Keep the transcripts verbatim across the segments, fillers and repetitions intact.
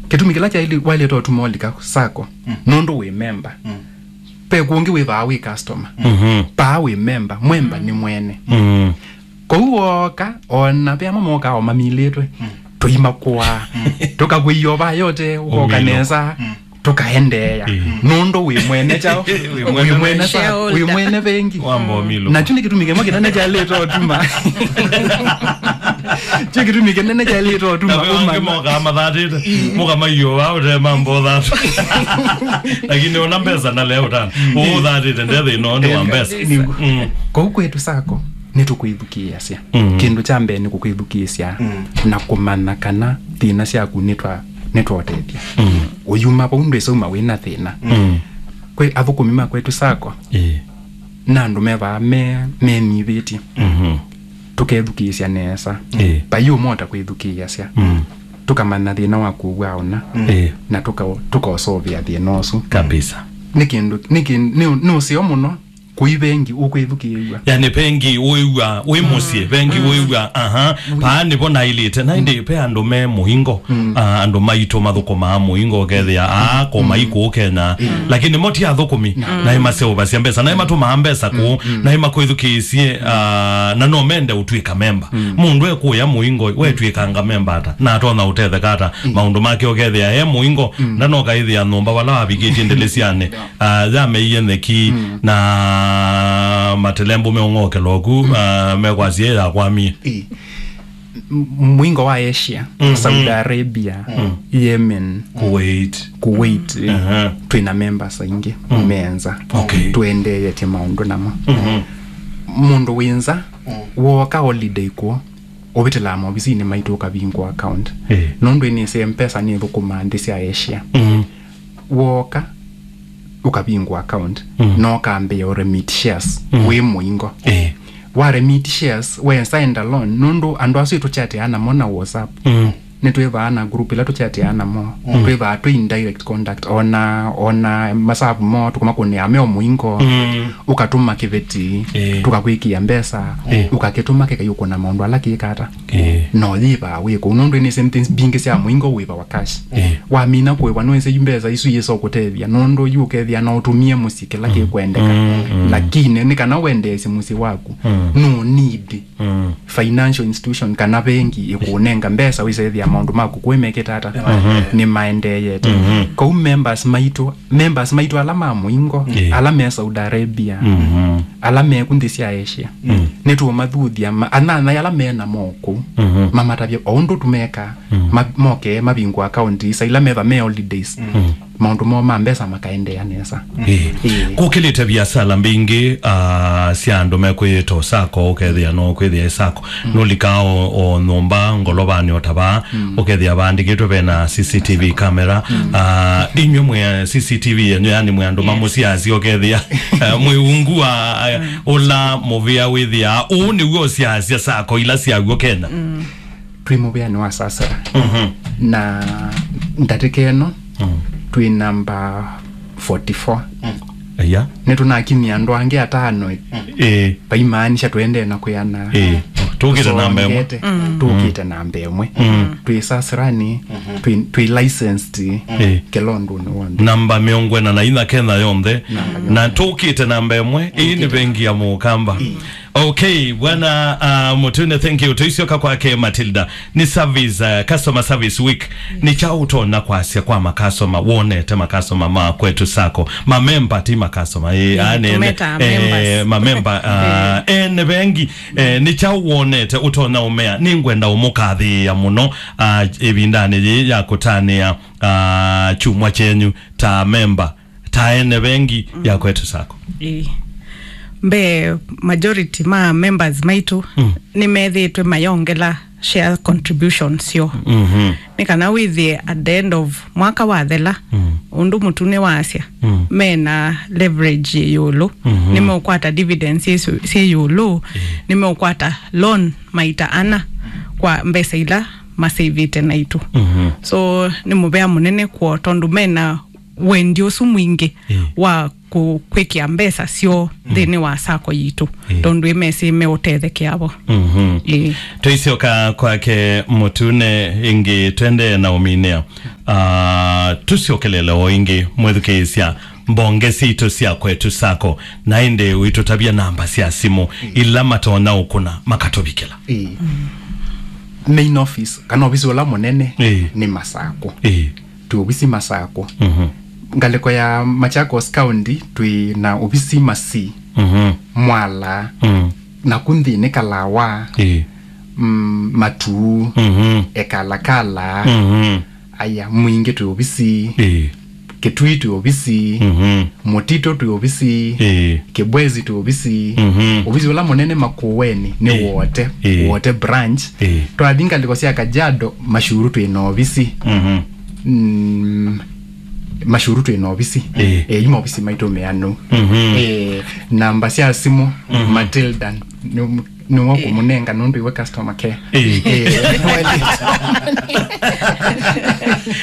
Kĩtumi kĩla kyaili-, wailĩte ũtuma ũlika sacco, nũndũ wĩ memba. Ve kũngĩ wĩvaa wĩ customer. Mhm. Paa wĩ memba, mwemba nĩ mwene. Mm. Kwoou wooka, ona ve amwe mokaa o mamilĩtwe, tũimakũaa. Tũkakwĩia o vaa yote, ũkoka nesa, tũkaendeea. Nũndũ wĩ mwene kyaũ? Wĩ mwene sa-, shareholder. Wĩ mwene vengi. Wamba ũmilũka. Na kyu nĩ kĩtumi kĩmwe kĩnene kyailĩte ũtuma. Kyu kĩtumi kĩnene kyailĩte ũtuma. Na ve angĩ ũmanya. Mokaa mathatĩte, mũkamaio vaa ũte mambo thatũ. Lakini ona mbesa na leo tano. Ũũ thatĩte nde thĩna ũũ nĩ wa mbesa. Nĩguo. Mm. Kwoou kwĩtũ sacco, nĩtũkwĩthukĩĩasya. Mm. Kĩndũ kya mbee nĩ kũkwĩthukĩĩsya na kũmanya kana thĩna syaku nĩtwa-, nĩtwaũtethya. Mm. Ũyuma vau ndwĩsauma wĩ na thĩna. Mm. Kwĩ athũkũmi ma kwĩtũ sacco, ĩĩ, na andũ me vaa me-, menyivĩtye. Mhm. Tũkethukĩĩsya nesa. Ĩĩ. Vai ũmwe ũtakwĩthukĩĩasya. Mm. Tũkamanya thĩna waku ũw'aona. Ĩĩ. Na tũka-, tũkaũsũvĩa thĩna ũsu. Kabisa. Nĩ kĩndũ, nĩ kĩndũ, nĩ ũ-, nĩ ũseo mũno. Kũi vengi ũkwĩthukĩĩw'a. Yani vengi ũĩw'a wĩ mũsyĩ, vengi ũĩw'a, aha, paa nĩvo nailĩte. Na ĩndĩ ve andũ me mũingo, ah, andũ maitũ mathũkũmaa mũingo ũkethĩa, ah, ko mai kũũ Kenya. Lakini mo ti athũkũmi, naĩ maseũvasya mbesa, naĩ matũmaa mbesa kũũ, naĩ makwĩthukĩĩsye, ah, na no mende ũtw'ĩka memba. Mũndũ ekũya mũingo, wetw'ĩkanga memba ata? Na atonya ũtetheka ata? Maũndũ make ũkethĩa e mũingo, ndanoka ĩthĩa nyũmba vala wavikĩtye ndĩlĩsyanĩ. Ah, yameie nyeki na matelembũ meũng'okela oku, ah, mekwasya yakwamie. Ĩ. M-, mũingo wa Asia, Saudi Arabia, Yemen, Kuwait. Kuwait, ĩ, twĩna members aingĩ, me nza. Okay. Tũendeeetye maũndũ namo. Mũndũ wĩ nza, wooka holiday kuo, ũvĩtĩlaa maovisinĩ maitũ ũkavingũa account. Ĩĩ. Nũndũ ĩnĩsĩ M-Pesa nĩthũkũmaa nthĩ sya Asia. Mm. Wooka, ũkavingũa account, na ũkambĩĩa ũremit shares wĩ mũingo. Ĩĩ. Wa remit shares, we stand alone, nũndũ andũ asu ĩtũchatĩaa namo na WhatsApp. Mm. Nĩtwĩvaa na group ĩla tũchatĩaa namo. Mm. Twĩvaa twĩ in direct contact, ona, ona masavu moo tũkũmakũnĩa me o mũingo. Mm. Ũkatũma kĩveti, ĩĩ, tũkakwĩkĩa mbesa, ĩĩ, ũkakĩtũma kĩkaiũkũna maũndũ ala kĩkata. Ĩĩ. No yĩvaa wĩ kũu, nũndũ ĩnĩ same things mbingĩ sya mũingo wĩvawa cash. Ĩĩ. Wamina kũĩva nũĩsĩ yu mbesa isu yĩsa ũkũtethya, nũndũ yu ũkethĩa no ũtũmie mũsyĩ kĩla kĩkwendeka. Mm, mm. Lakini nĩ kana wendeesye mũsyĩ waku, no need financial institution kana vengi ĩkũnenga mbesa wĩsethĩa maũndũ maku kũĩ mekĩte ata, nĩ maendeeyete. Kau members maitũ, members maitũ ala ma mũingo, ĩĩ, ala me Saudi Arabia, ala me ku nthĩ sya Asia, nĩtũũmathuthya ma-, anyanyae ala me namo kũu, mamatavye o ũndũ tũmekaa, ma-, moke mavingũa akaunti isa ila meva me holidays. Maũndũ moo ma mbesa makaendeea nesa. Ĩĩ. Ĩĩ. Kũkĩlĩte viasala mbingĩ, ah, sya andũ mekwĩyĩta o sacco, ũkethĩa no kwĩthĩa ĩ sacco. Nũlikaa o, o nyũmba, ngolovanĩ o ta vaa, ũkethĩa vaandĩkĩtwe vena C C T V camera. Ah, inyw'ĩ mwĩ C C T V yenyu, yani mwĩ andũ ma mũsyĩ asu, ũkethĩa, eh, mwĩ ungu wa, eh, ũla mũvĩa wĩthĩaa. Ũũ nĩw'o ũsyasya sacco ila syaw'o Kenya. Twĩ mũvĩanĩ wa Sasera. Na ndatĩka ĩno, twĩ namba forty-four. Aya. Nĩtũnakinyia andũ angĩ atano. Ĩĩ. Vaimaanisha tũendee na kwĩana. Ĩĩ. Tũkĩte namba ĩmwe. Tũsongete. Tũkĩte namba ĩmwe. Twĩ Saserani, twĩ, twĩ licensed, ĩĩ, kĩla ũndũnĩ w'onthe. Namba mĩongo ĩna na inya Kenya yonthe. Na tũkĩte namba ĩmwe. Ĩĩ nĩ vengi ya Mũkamba. Ĩĩ. Okay, bwana, uh, Mutune, thank you. Tuisyoka kwake Matilda. Ni service, uh, customer service week. Ni kyaũ ũtonya kwasya kwa makasoma, wonete makasoma ma kwetu sacco? Mamemba ti makasoma. Eh, mm, ane, tũmeta eh, members. Mamemba, uh, eh, ene vengi. Eh, ni kyaũ wonete ũtonya ũmea? Nĩngwenda ũmũkathĩĩa mũno, uh, ĩvindanĩ yĩĩ ya kũtanĩa, uh, kyumwa kyenyu ta memba, ta ene vengi ya kwetu sacco. Ĩĩ. Mbee, majority ma members maitũ, mm, nĩmethĩĩtwe mayongela share contributions syoo. Mhm. Nĩ kana wĩthĩe at the end of mwaka wathela, mm, ũndũ Mutune wasya, mm, mena leverage yĩ ĩũlũ, mhm, nĩmeũkwata dividends syĩ, syĩ ĩũlũ, mm, nĩmeũkwata loan maita ana kwa mbesa ila masĩvĩte naitũ. Mhm. So, nĩ mũvea mũnene kwoo tondũ mena wendi ũsu mwingĩ Ĩĩ. wa kũ-, kwĩkĩa mbesa syoo Mm. nthĩnĩ wa sacco yitũ, Ĩĩ. tondũ ĩmesĩ meũtethekea vo. Mhm. Ĩĩ. Tũisyoka kwake Mũtune ĩngĩ, twendee na ũminĩa. Ah, tũsyokelele o ĩngĩ, mwĩthukĩĩsya, mbonge sitũ sya Kwetu Sacco, na ĩndĩ ũitũtavya namba sya simũ ila matonya ũkũna makatũvikĩla. Ĩĩ. Main office, kana ovisi ũla mũnene Ĩĩ. nĩ Masakũ. Ĩĩ. Twĩ ovisi Masakũ. Mhm. Ngalĩko ya Machakos County, twĩ na ovisi Masii, Mhm. Mwala, Mm. naku nthĩnĩ Kalawa, Ĩĩ. mm, Matuu, Mhm. Ekalakala, Mhm. Aya, Mwingĩ twĩ ovisi, Ĩĩ. Kitui twĩ ovisi, Mhm. Mutito twĩ ovisi, Ĩĩ. Kibwezi twĩ ovisi, Mhm. ovisi ũla mũnene Makueni nĩ Ĩĩ. Wote, Ĩĩ. Wote branch. Ĩĩ. Twathi ngalĩko sya Kajiado, Mashuru twĩ na ovisi. Mhm. Mm, Mashuru twĩ na ovisi. Ĩĩ. Eh, ima ovisi maitũ meanu. Mhm. Eh, namba sya simũ, Mhm. Matilda, nĩ- nĩwe Ĩĩ. kũmũnenga nũndũ iwe customer care. Ĩĩ. Ĩĩ.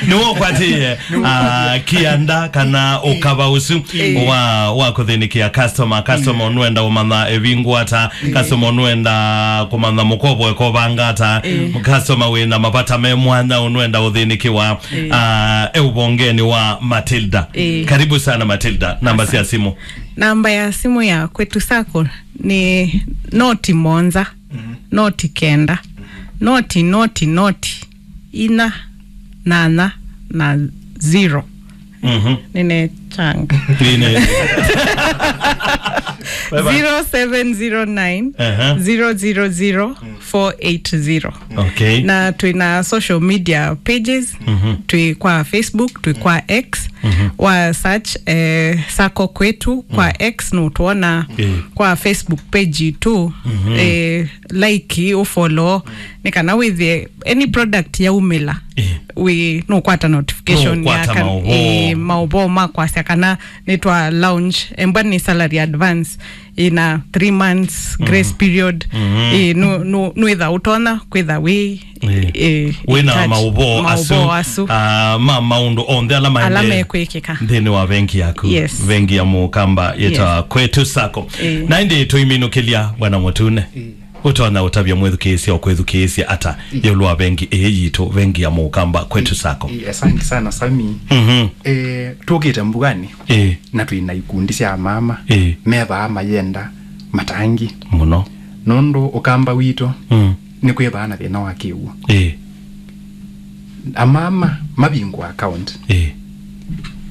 Nĩwe ũkwatĩĩe, ah, kĩanda kana ũkava ũsu Ĩĩ. wa, wa kũthĩnĩkĩa customer. Customer nũenda ũmanya ĩvingũ ata, Ĩĩ. customer nũenda kũmanya mũkovo ĩkovanga ata, Ĩĩ. customer wĩna mavata me mwanya nũenda ũthĩnĩkĩwa, Ĩĩ. ah, e ũvongenĩ wa Matilda. Ĩĩ. Karibu sana Matilda, namba sya simũ. Namba ya simũ ya Kwetu Sacco nĩ noti monza, Mhm. noti kenda, noti, noti, noti, inya, nana, na zero. Mhm. Nĩnechanga. Nĩne. Bye bye. Zero seven zero nine, Aha. zero zero zero, four eight zero. Okay. Na twĩ na social media pages, Mhm. twĩ kwa Facebook, twĩ kwa X, Mhm. wa search, eh, Sacco Kwetu kwa Mm. X nũtwona, Eh. kwa Facebook page tu, Mhm. eh, like, ũfollow, nĩ kana wĩthĩe any product yaumĩla, Eh. wĩ, nũkwata notification Nũkwata ya kan-, maũvoo. eh, maũvoo ma kwasya kana nĩtwa launch, embwa nĩ salary advance, ĩna three months grace Mhm. period. Mhm. Ĩ, nũ-, nũ-, nũĩtha ũtonya kwĩtha wĩ, Ĩ. ĩ, Wĩna in touch. Maũvoo asu, Maũvoo asu. Ah, ma maũndũ onthe ala Ala maendee mekwĩkĩka. Nthĩnĩ wa vengi yaku. Yes. Vengi ya Mũkamba yĩtawa Yes. Kwetu Sacco. Ĩ. Na ĩndĩ tũiminũkĩlya Bwana Mũtune. Ĩ. Ũtonya ũtavya mwĩthukĩĩsya ũkwĩthukĩĩsya ata Ĩ. ĩũlũ wa vengi ĩĩ yitũ, vengi ya Mũkamba, Kwetu Sacco? Ĩ, asante sana, Sami. Mhm. Eh, tũkĩte mbuanĩ. Ĩĩ. Na twĩ na ikundi sya mama Ĩĩ. me vaa mayenda matangi. Mũno. Nũndũ Ũkamba witũ Mm. nĩ kwĩ vaa na thĩna wa kĩw'ũ. Ĩĩ. Amama mavingũa account. Ĩĩ.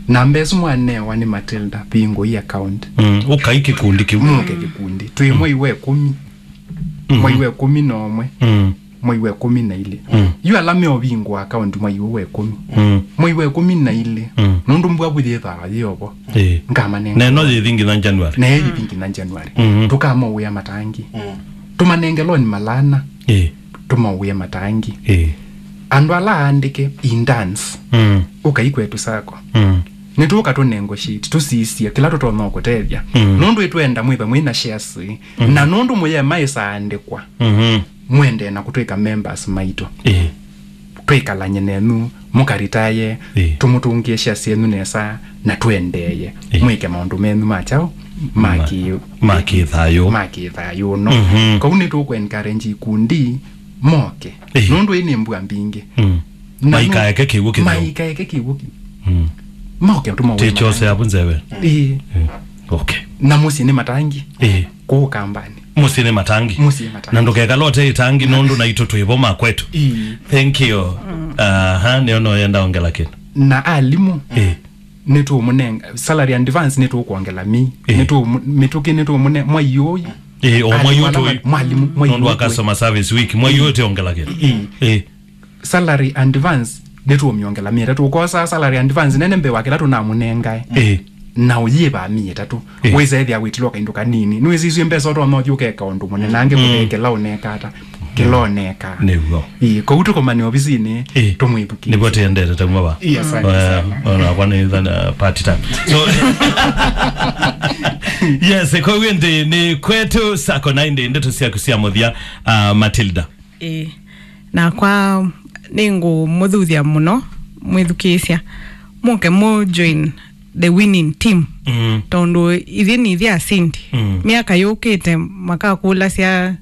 Namba ĩsu mwanewa nĩ Matilda, vingũi account. Mm. Ũkai kĩkundi kĩu. Mũke kĩkundi. Twĩ mwei wa ĩkũmi. Mm. Mwei wa ĩkũmi na ũmwe. Mm. Mwei wa ĩkũmi na ilĩ. Mm. Yu ala meũvingũa account mwei ũũ wa ĩkũmi. Mm. Mwei wa ĩkũmi na ilĩ. Mm. Nũndũ mbua vu yĩthaa yĩovo. Ĩĩ. Ngamanenga. Na ĩno yĩthi nginya January. Na ĩyo yĩthi nginya January. Mhm. Tũkamauĩa matangi. Mm. Tũmanenge loan malana. Ĩĩ. Tũmauĩe matangi. Ĩĩ. Andũ ala aandĩke in dance. Mm. Ũkai Kwetu Sacco. Mm. Nĩtũũka tũnegotiate, tũsisye kĩla tũtonya kũtethya. Mm. Nũndũ ĩtwenda mwĩtha mwĩ na shares. Mm. Na nũndũ mũyema ĩsaandĩkwa. Mhm. Mwendee na kũtwĩka members maitũ. Ĩĩ. Twĩkalany'e nenyu, mũkaritaye, Ĩĩ. tũmũtũngĩe shares syenyu nesa, na twendeeye. Ĩĩ. Mwĩke maũndũ menyu ma kyaũ, ma Ma-, kĩ-, ma kĩthayũ. Ma kĩthayũ, no? Mhm. Kau nĩtũkũ encourage ikundi, moke. Ĩĩ. Nũndũ ĩĩ nĩ mbua mbingĩ. Mm. Na Maikaeke kĩw'ũ kĩtheu. Maikaeke kĩw'ũ kĩu. Mm. Moke tũmauĩe Tichose matangi. Avu nzeve. Ĩĩ. Mm. Okay. Na mũsyĩ nĩ matangi. Ĩĩ. Kũu Kambanĩ. Mũsyĩ nĩ matangi. Mũsyĩ matangi. Na ndũkekala ũte ĩtangi nũndũ naitũ twĩ vo ma Kwetu. Ĩĩ. Thank you. Mm. Aha, nĩona ũyenda ongela kĩndũ. Na alimũ, Ĩĩ. nĩtũmũnenga, salary advance nĩtũkwongela mi. Ĩĩ. Nĩtũmũ-, mĩtũkĩ nĩtũmũne-, mwai ũyũ. Ĩĩ, o mwai Alimũ ũyũ ala tũi-, ma-, mwalimũ, mwai nũndũ wa ũyũ tũi- customer service week. Mwai Ĩĩ. ũyũ tĩongela kĩndũ. Ĩĩ. Ĩĩ. Salary advance nĩtũmĩongela mĩtatu. Ũkosa salary advance nene mbee wa kĩla tũnamũnengae. Ĩĩ. Na ũyĩva mĩĩ ĩtatũ. Ĩĩ. Wĩsa ethĩa wĩtilwa kaindũ kanini. Nĩwĩsĩ isu mbesa ũtonya ũthi ũkeka ũndũ mũnene, angĩ Mm. kũthee kĩla ũneka ata. Kĩla ũneka. Nĩw'o. Ĩĩ, kũu tũkomane ovisinĩ, Ĩĩ. tũmwĩthukĩĩsye. Nĩvo tĩendete tauma va. Ĩĩ, asante Eh, sana. Ona kwa nĩ thana party time. So, yes, kwa hiyo ndi nĩ Kwetu Sacco na indi ndeto syaku sya mũthya, ah, Matilda. Ĩĩ. Nakwa nĩngũmũthuthya mũno mwĩthukĩĩsya. mũke mũ join the winning team. Mm. Tondũ ithyĩ nĩ ithyĩ asindi. Mm. Myaka yũkĩte makakũlasya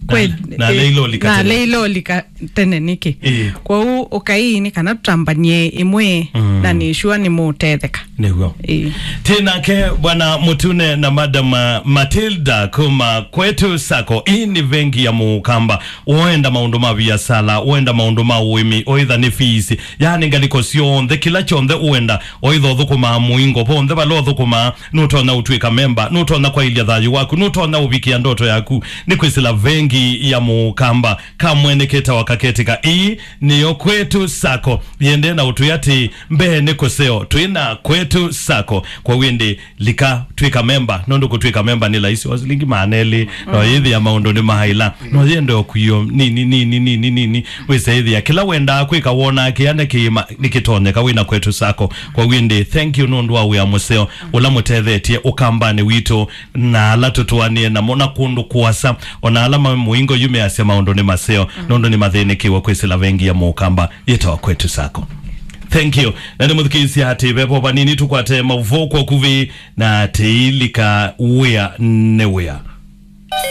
na, na eh, leilolika na tene. Leilolika tene nĩkĩ? Ĩĩ. Kwoou ũkai nĩ kana tũtambanie ĩmwe. Mm. Na nĩ sure nĩ mũũtetheka. Nĩw'o. Ĩĩ. Tĩ nake Bwana Mũtune na Madam, uh, Matilda kuma Kwetu Sacco. Ĩĩ nĩ vengi ya Mũkamba. Ũenda maũndũ ma viasala, ũenda maũndũ ma ũĩmi, ũitha nĩ fees, yaani ngalĩko syonthe, kĩla kyonthe ũenda, ũitha ũthũkũmaa mũingo, vonthe vala ũthũkũmaa, nũtonya ũtw'ĩka memba, nũtonya kwaĩlya thayũ waku, nũtonya ũvikĩa ndoto yaku, nĩ kwĩsĩla vengi ya Mũkamba. Kamwene ketawa kaketĩka. Ĩĩ nĩyo Kwetu Sacco. Yĩendee na ũtwĩa atĩ mbee nĩ kũseo, twĩ na Kwetu Sacco. Kwoou ĩndĩ lika twĩka memba, nũndũ kũtwĩka memba nĩ laisi, o silingi maana elĩ, no yĩthĩa maũndũ nĩ mahaila, no yende o kwio nini, nini, nini, nini, wĩse ĩthĩa kĩla wendaa kwĩka, wonaa kĩana kĩima nĩkĩtonyeka wĩna Kwetu Sacco. Kwoou ĩndĩ, thank you nũndũ wa wĩa mũseo ũla mũtethetye Ũkambanĩ witũ, na ala tũtũanĩe namo na kũndũ kũasa, ona ala ma mũingo yu measya maũndũ nĩ maseo, nũndũ nĩ mathĩnĩkĩwe kwĩsĩla vengi ya Mũkamba yĩtawa Kwetu Sacco. Thank you. Na nĩ mũthikĩĩsya atĩ vevo vanini tũkwate maũvoo kwa ũkuvĩ na tĩilika wĩa nĩ wĩa.